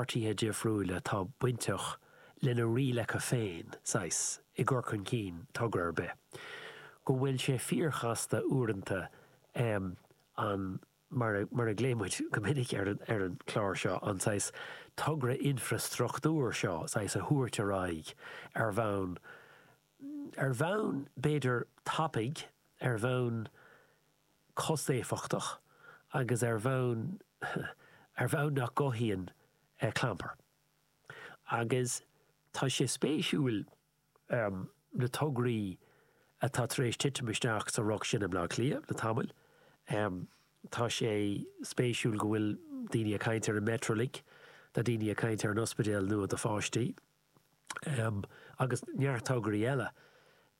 páirtithe difriúla atá bainteach lena rialacha féin, saghas, i gcur chun cinn togra ar bith, go bhfuil sé fíorchasta uaireanta an, mar a, mar a ghlaoigh muid go minic ar an, ar an chlár seo, an saghas togra infreastruchtúir seo, saghas, a thabhairt ar aghaidh ar bhonn, ar bhonn b'fhéidir tapaidh, ar bhonn cost-éifeachtach agus ar bhonn, ar bhonn nach gcothaíonn clampar. Agus tá sé spéisiúil na tograí atá tar éis titim isteach sa riocht sin i mBleá Cliath le tamall. Tá sé spéisiúil go bhfuil daoine ag caint ar an Metrolink, tá daoine ag caint ar an ospidéal nua do pháistí. agus neart tograí eile.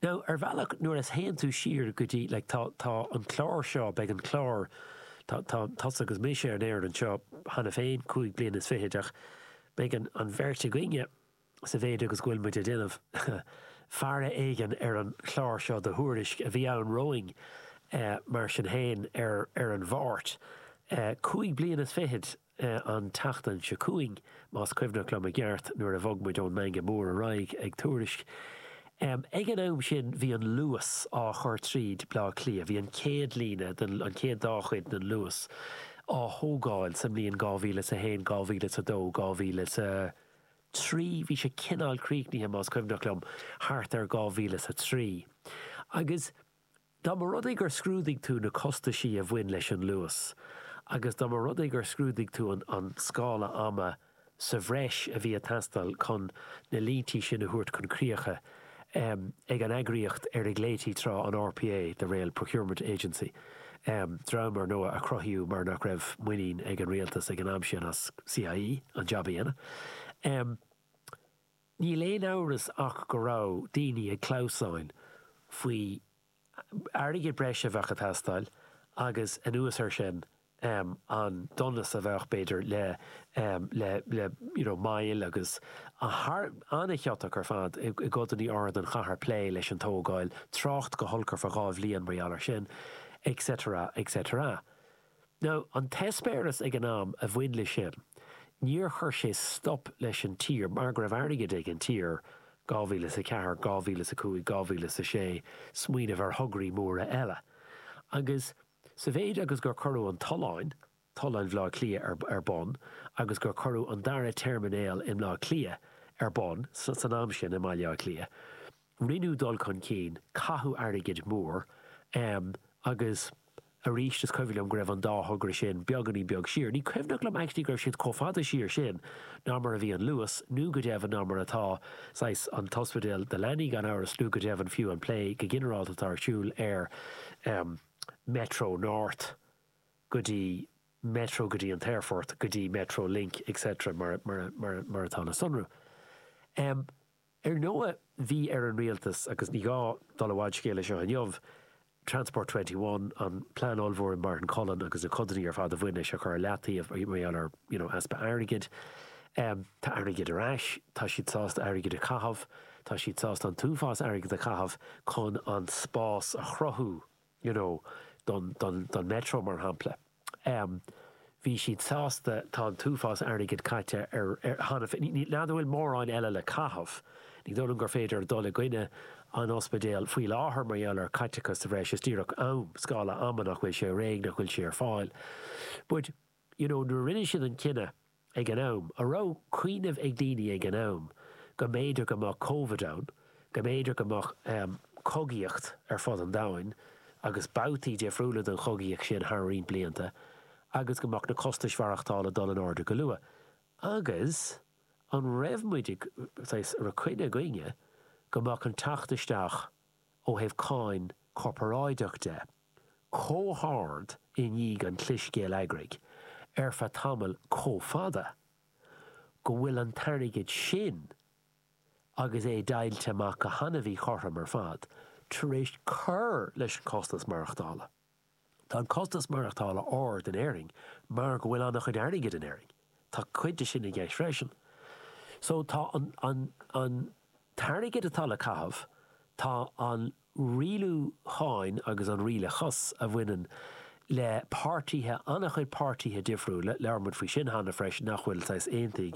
Now, ar bhealach, nuair a théann tú siar go dtí, like, tá, tá an clár seo, beidh an clár, tá, tá tusa agus mise ar an aer anseo cheana féin, 25 bliain ach beidh an, an bheirt againne, sa mhéid agus go bhfuil muid ag déanamh faire éigin ar an chlár seo do Thuairisc, a bhí ann romhainn, mar sin féin, ar, ar an Mháirt, 25 bliain. An tseachtain seo chugainn, más cuimhneach liom i gceart, nuair a bhog muid ón Meangadh Mór ar aghaidh ag Tuairisc. Ag an am sin bhí an Luas á chur tríd Bleá Cliath. Bhí an chéad líne den, an chéad dá chuid den Luas á thógáil sa mbliain 2001, 2002, 2003. Bhí sé cineál críochnaithe, más cuimhneach liom, thart ar 2003. Agus. Dá mba rud é gur scrúdaigh tú na costaisí a bhain leis an Luas agus dá mba rud é gur scrúdaigh tú an scála ama sa bhreis a bhí ag teastáil chun na líntí sin a thabhairt chun críocha ag an eagraíocht ar a nglaoití tráth an RPA, the Rail Procurement Agency, dream ar ndóigh a cruthaíodh mar nach raibh muinín ag an rialtas ag an am sin as CIE an jab a dhéanamh. Níl aon amhras ach go raibh daoine ag clamhsáin faoi airgead breise a bheadh ag teastáil agus anuas air sin an donas a bheadh b'fhéidir le le le you know moill agus an-chiotach ar fad i gcodanna áirithe den chathair plé leis an tógáil, trácht go holc ar feadh 2 bhliain mar gheall air sin etc etc. Now, an t-eispéireas ag an am a bhain leis sin, níor chuir sé stop leis an tír, mar go raibh airgead ag an tír, 2004, 2005, 2006, smaoineamh ar thograí móra eile. Agus sa mhéid agus gur cuireadh an tolláin, Tolláin Bhaile Átha Cliath ar bun agus gur cuireadh an dara teirminéal i mBleá Cliath ar bun san am sin i mBaile Átha Cliath, Rinneadh dul chun cinn, caitheadh airgead mór agus arís is cuimhin liom go raibh an dá thogra sin beagáinín beag siar. Ní cuimhneach liom actually go raibh siad chomh fada siar sin ná mar a bhí an Luas, nó go deimhin ná mar atá saghas an t-ospidéal do leanaí gan amhras, nó go deimhin fiú an plé go ginearálta atá ar siúl ar Metro North go dtí Metro go dtí an t-aerfort, go dtí Metro Link etc mar mar atá le sonrú. Ar ndóigh, bhí ar an rialtas, agus ní gá dul i bhfad scéal leis seo inniu, Transport 21, an plean ollmhór i Martin Cullen agus na codanna ar fad a bhain leis a chur ar leataobh mar gheall ar you know easpa airgid. Tá airgead ar ais, tá siad sásta airgead a chaitheamh, tá siad sásta an t-uafás airgid a chaitheamh chun an spás a chruthú you know don, don, don Metro mar shampla. Bhí siad sásta, tá an t-uafás airgid caite ar, ar, cheana féin, ní, n'fheadar an bhfuil mórán eile le caitheamh. Ní dóigh liom gur féidir dul i gcoinne an ospidéil faoi láthair mar gheall ar chaiteachas sa bhreis, is díreach am, scála ama nach bhfuil sé réidh, nach bhfuil sé ar fáil. But, you know, nuair a rinne siad an cinneadh, ag an am, an raibh cuimhneamh ag daoine ag an am go mb'fhéidir go mbeadh Covid ann, go mb'fhéidir go mbeadh cogaíocht ar fud an domhain agus babhtaí difriúla den chogaíocht sin thar roinnt blianta agus go mbeadh na costais mhaireachtála dul in airde go luath. Agus an raibh muid ag, saghas, an raibh coinne againne go mbeadh an teacht isteach ó thaobh cáin corparáideach de, chomh hard i ndiaidh an chlis gheilleagraigh ar feadh tamall chomh fada go bhfuil an t-airgead sin, agus é deighilte amach go han-mhíchothrom ar fad, tar éis cur leis an costas maireachtála. Tá an costas maireachtála ard in Éirinn mar go bhfuil an-chuid airgid in Éirinn. Tá cuid de sin i gceist freisin. So tá an, an, an t-airgead atá le caitheamh, tá an rialúcháin agus an rialachas a bhaineann le páirtithe, an-chuid páirtithe difriúla, labhair muid faoi sin cheana freisin, nach bhfuil saghas aontaithe.